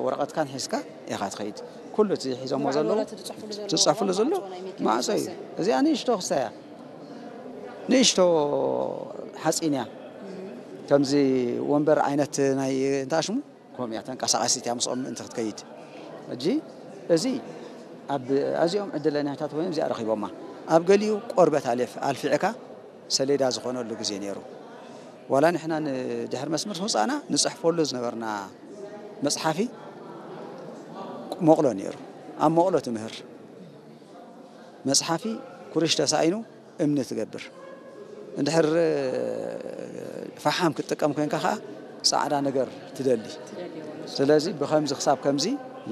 ወረቐትካን ሒዝካ ኢኻ ትኸይድ። ኩሉ እቲ ሒዞሞ ዘለዉ ዝፅሕፍሉ ዘሎ ማዕጾ እዩ። እዚኣ ንእሽቶ ክስታይ እያ፣ ንእሽቶ ሓፂን እያ። ከምዚ ወንበር ዓይነት ናይ እንታይ ሽሙ ከምኡ እያ፣ ተንቀሳቓሲት እያ ምስኦም ምእንቲ ክትከይድ። ሕጂ እዚ ኣብ ኣዚኦም ዕድለኛታት ኮይኖም እዚኣ ረኺቦማ። ኣብ ገሊኡ ቆርበት ኣልፍ ኣልፊዕካ ሰሌዳ ዝኾነሉ ግዜ ነይሩ። ዋላ ንሕና ንድሕሪ መስመር ምውፃእና ንፅሕፈሉ ዝነበርና መፅሓፊ መቕሎ ነይሩ። ኣብ መቕሎ ትምህር መፅሓፊ ኩርሽ ተሳኢኑ እምኒ ትገብር። እንድሕር ፈሓም ክትጥቀም ኮይንካ ከዓ ፃዕዳ ነገር ትደሊ። ስለዚ ብከምዚ ክሳብ ከምዚ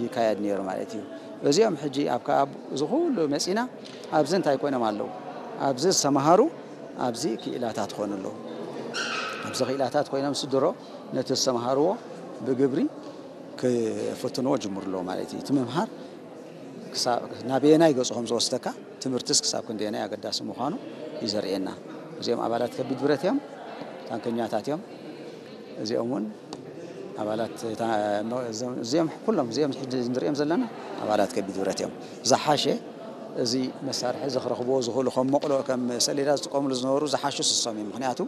ይካየድ ነይሩ ማለት እዩ። እዚኦም ሕጂ ኣብ ካብ እዚ ኩሉ መፂና ኣብዚ እንታይ ኮይኖም ኣለዉ? ኣብዚ ዝተምሃሩ ኣብዚ ክኢላታት ክኾኑ ኣለዉ። ኣብዚ ክኢላታት ኮይኖም ስድሮ ነቲ ዝተምሃርዎ ብግብሪ ክፍትንዎ ጅምሩ ኣለዉ ማለት እዩ። እቲ ምምሃር ክሳብ ናበየናይ ገፁ ከም ዝወስደካ ትምህርትስ ክሳብ ክንደየናይ ኣገዳሲ ምዃኑ እዩ ዘርእየና። እዚኦም ኣባላት ከቢድ ብረት እዮም፣ ታንከኛታት እዮም። እዚኦም እውን ኣባላት እታ- እዚኦም ኩሎም እዚኦም ሕጂ ንሪኦም ዘለና ኣባላት ከቢድ ብረት እዮም። ዝሓሸ እዚ መሳርሒ እዚ ክረኽብዎ ዝኽእሉ ከም መቕሎ ከም ሰሌዳ ዝጥቀምሉ ዝነበሩ ዝሓሹ ስሶም እዮም። ምክንያቱ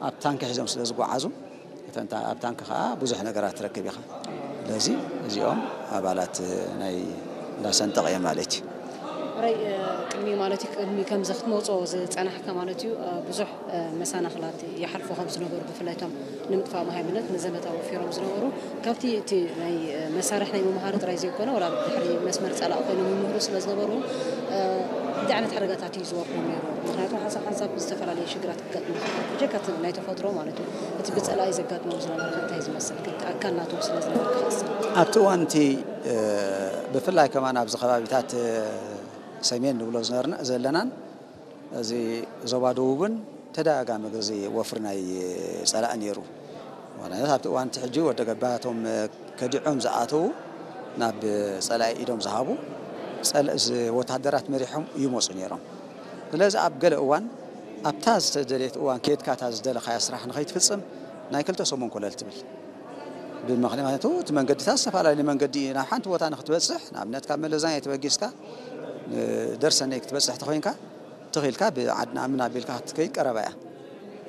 ኣብ ታንኪ ሒዞም ስለ ዝጓዓዙ እተን ታ- ኣብ ታንኪ ከዓ ብዙሕ ነገራት ትረክብ ኢኻ። ስለዚ እዚኦም ኣባላት ናይ እንዳሰንጠቕ እዮም ማለት እዩ። ራይ ቅድሚ ማለት እዩ ቅድሚ ከምዚ ክትመፅኦ ዝፀናሕካ ማለት እዩ ብዙሕ መሰናኽላት ይሓልፉ ከም ዝነበሩ ብፍላይ እቶም ንምጥፋእ መሃይምነት ንዘመታ ወፊሮም ዝነበሩ ካብቲ እቲ ናይ መሳርሒ ናይ ምምሃሩ ጥራይ ዘይኮነ ወላ ድሕሪ መስመር ፀላእ ኮይኖም ይምህሩ ስለ ዝነበሩ እንታይ ዓይነት ሓደጋታት እዩ ዝወርዶም ነይሩ? ምክንያቱ ሓንሳብ ሓንሳብ ዝተፈላለዩ ሽግራት ክገጥሙ ይኽእል ብጀካ እቲ ናይ ተፈጥሮ ማለት እዩ እቲ ብፀላኢ ዘጋጥሞም ዝነበረ ከ እንታይ ዝመስል ኣካል ናቶም ስለ ዝነበርካ ንስኻ? ኣብቲ እዋን እቲ ብፍላይ ከማን ኣብዚ ከባቢታት ሰሜን ንብሎ ዝነበርና ዘለናን እዚ ዞባ ደቡብን ተደጋጋሚ ግዜ ወፍሪ ናይ ፀላኢ ነይሩ። ዋላነት ኣብቲ እዋን እቲ ሕጂ ወደ ገባ እቶም ከዲዖም ዝኣተዉ ናብ ፀላኢ ኢዶም ዝሃቡ ፀል- ዝ- ወታደራት መሪሖም ይመፁ ነይሮም። ስለዚ ኣብ ገለ እዋን ኣብታ ዝተደልየት እዋን ከድካ እታ ዝደለኻያ ስራሕ ንኸይትፍፅም ናይ ክልተ ሰሙን ኮለል ትብል። ብምኽንያቱ እቲ መንገድታት ዝተፈላለየ መንገዲ እዩ። ናብ ሓንቲ ቦታ ንክትበፅሕ ንኣብነት ካብ መለዛኛ ተበጊስካ ደርሰነይ ክትበፅሕ ተኮይንካ ትኽኢልካ ብዓድና ምናቢልካ ክትከይድ ቀረባ እያ።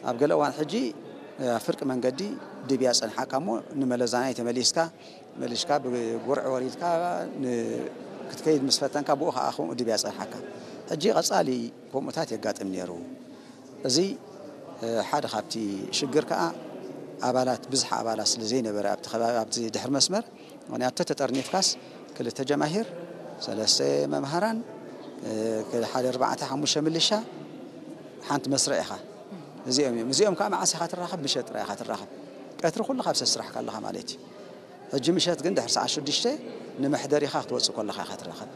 ኣብ ገለ እዋን ሕጂ ኣብ ፍርቂ መንገዲ ድብያ ፀንሓካ እሞ ንመለዛናይ ተመሊስካ መሊስካ ብጉርዒ ወሪድካ ክትከይድ ምስ ፈተንካ ብኡ ከዓ ከምኡ ድብያ ፀንሓካ። ሕጂ ቀፃሊ ከምኡታት የጋጥም ነይሩ። እዚ ሓደ ካብቲ ሽግር ከዓ ኣባላት ብዝሓ ኣባላት ስለ ዘይነበረ ኣብቲ ከባቢ ኣብቲ ድሕሪ መስመር ምክንያቱ ተተጠርኒፍካስ ክልተ ጀማሂር ሰለስተ መምሃራን ሓደ ኣርባዕተ ሓሙሽተ ምልሻ ሓንቲ መስርዕ ኢኻ። እዚኦም እዮም እዚኦም ከዓ መዓስ ኢኻ ትራኸብ? ምሸት ጥራይ ኢኻ ትራኸብ። ቀትሪ ኩሉ ካብ ሰብ ስራሕካ ኣለኻ ማለት እዩ። ሕጂ ምሸት ግን ድሕሪ ሰዓት ሽዱሽተ ንመሕደሪኻ ክትወፅእ ከለኻ ኢኻ ትራኸብ።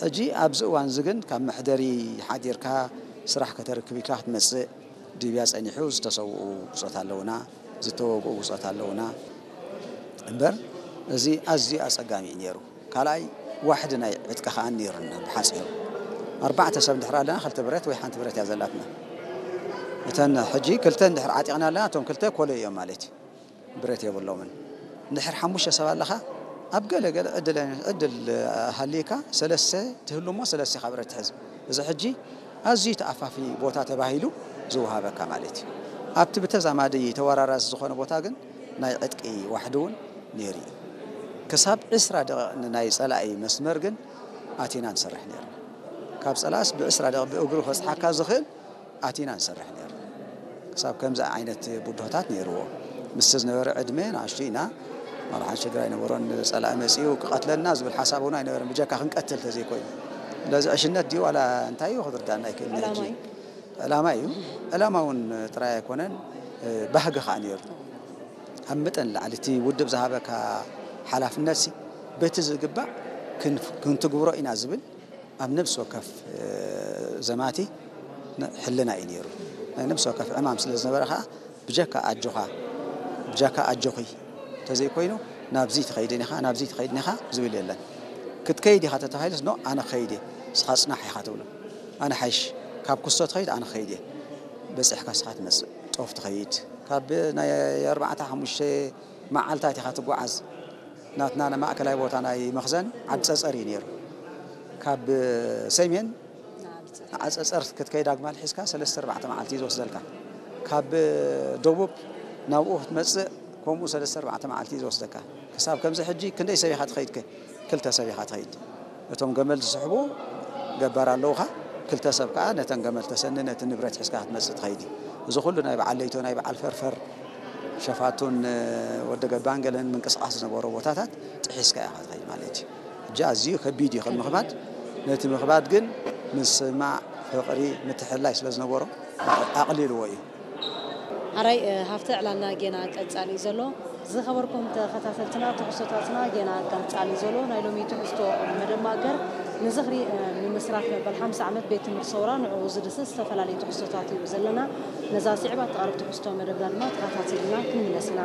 ሕጂ ኣብዚ እዋን እዚ ግን ካብ መሕደሪ ሓዲርካ ስራሕ ከተርክብ ኢልካ ክትመፅእ ድብያ ጸኒሑ ዝተሰውኡ ብጾት ኣለውና፣ ዝተወግኡ ብጾት ኣለውና እምበር እዚ ኣዝዩ ኣጸጋሚ እዩ ነይሩ። ካልኣይ ዋሕዲ ናይ ዕጥቂ ከኣ ነይሩና ብሓጺሩ። ኣርባዕተ ሰብ እንድሕር ኣለና ክልተ ብረት ወይ ሓንቲ ብረት እያ ዘላትና። እተን ሕጂ ክልተ እንድሕር ዓጢቕና ኣለና እቶም ክልተ ኮሎ እዮም ማለት እዩ። ብረት የብሎምን። እንድሕር ሓሙሽተ ሰብ ኣለኻ ኣብ ገለ ገለ ዕድል ዕድል ሃልይካ ሰለስተ ትህሉ እሞ ሰለስተ ኢኻ ብረት ትሕዝ። እዚ ሕጂ ኣዝዩ ተኣፋፊ ቦታ ተባሂሉ ዝወሃበካ ማለት እዩ። ኣብቲ ብተዛማዲ ተወራራሲ ዝኾነ ቦታ ግን ናይ ዕጥቂ ዋሕዲ እውን ነይሩ እዩ። ክሳብ ዕስራ ደቂቕ ንናይ ጸላኢ መስመር ግን ኣቲና ንሰርሕ ነይርና። ካብ ጸላእስ ብዕስራ ደቂቕ ብእግሩ ከብጽሓካ ዝኽእል ኣቲና ንሰርሕ ነይርና። ክሳብ ከምዚ ዓይነት ብድሆታት ነይርዎ። ምስቲ ዝነበረ ዕድመ ንኣሽቱ ኢና። ዋላ ሓንቲ ሽግር ኣይነበሮን። ጸላኢ መጺኡ ክቐትለና ዝብል ሓሳብ እውን ኣይነበረን። ብጀካ ክንቀትል ተዘይኮይኑ። ስለዚ ዕሽነት ድዩ ዋላ እንታይ እዩ ክትርዳእና ኣይክእልን ሕጂ። ዕላማ እዩ። ዕላማ እውን ጥራይ ኣይኮነን፣ ባህጊ ከዓ ነይሩ። ካብ መጠን ንላዕሊ እቲ ውድብ ዝሃበካ ሓላፍነት ሲ በቲ ዝግባእ ክንፍ- ክንትግብሮ ኢና ዝብል ኣብ ነብሲ ወከፍ ዘማቲ ሕልና እዩ ነይሩ። ናይ ነብሲ ወከፍ ዕማም ስለ ዝነበረ ከዓ ብጀካ ኣጆኻ ብጀካ ኣጆኺ እንተዘይኮይኑ ናብዚ ትኸይድን ኢኻ ናብዚ ትኸይድን ኢኻ ዝብል የለን። ክትከይድ ኢኻ ተተባሂሉስ ኖ ኣነ ክኸይድ እየ ንስኻ ፅናሕ ኢኻ ትብሎ። ኣነ ሓይሽ ካብ ኩስቶ ትኸይድ ኣነ ክኸይድ እየ። በፂሕካ ንስኻ ትመፅእ ጦፍ ትኸይድ ካብ ናይ ኣርባዕተ ሓሙሽተ መዓልታት ኢኻ ትጓዓዝ። ናትና ማእከላይ ቦታ ናይ መኽዘን ዓዲ ጸጸር እዩ ነይሩ። ካብ ሰሜን ንዓጸጸር ክትከይድ ኣግማል ሒዝካ ሰለስተ ኣርባዕተ መዓልቲ እዩ ዝወስደልካ። ካብ ደቡብ ናብኡ ክትመጽእ ከምኡ ሰለስተ ኣርባዕተ መዓልቲ እዩ ዝወስደካ። ክሳብ ከምዚ ሕጂ ክንደይ ሰብ ኢኻ ትኸይድከ? ክልተ ሰብ ኢኻ ትኸይድ። እቶም ገመል ዝስሕቡ ገባር ኣለውኻ። ክልተ ሰብ ከኣ ነተን ገመል ተሰኒ ነቲ ንብረት ሒዝካ ክትመጽእ ትኸይድ እዩ። እዚ ኩሉ ናይ በዓል ለይቶ ናይ በዓል ፈርፈር ሸፋቱን ወዲ ገባን ገለን ምንቅስቃስ ዝነበሮ ቦታታት ጥሒስካ ኢኻ ትኸይድ ማለት እዩ። እጃ ኣዝዩ ከቢድ እዩ ከም ምኽባድ። ነቲ ምኽባድ ግን ምስማዕ፣ ፍቕሪ፣ ምትሕልላይ ስለ ዝነበሮ ኣቕሊልዎ እዩ። ኣራይ ሃፍተ ዕላልና ጌና ቀጻሊ እዩ ዘሎ። ዝኸበርኩም ተኸታተልትና ትሕዝቶታትና ጌና ቀጻሊ ዘሎ ናይ ሎሚ ትሕዝቶ መደብ ማእከር ንዝኽሪ ምምስራት መበል ሓምሳ ዓመት ቤት ትምህርቲ ሰውራ ንዕኡ ዝድስስ ዝተፈላለዩ ትሕዝቶታት እዩ ዘለና። ነዛ ስዕባ እትቐርብ ትሕዝቶ መደብና ድማ ተኸታቲልና ክንምለስ ኢና።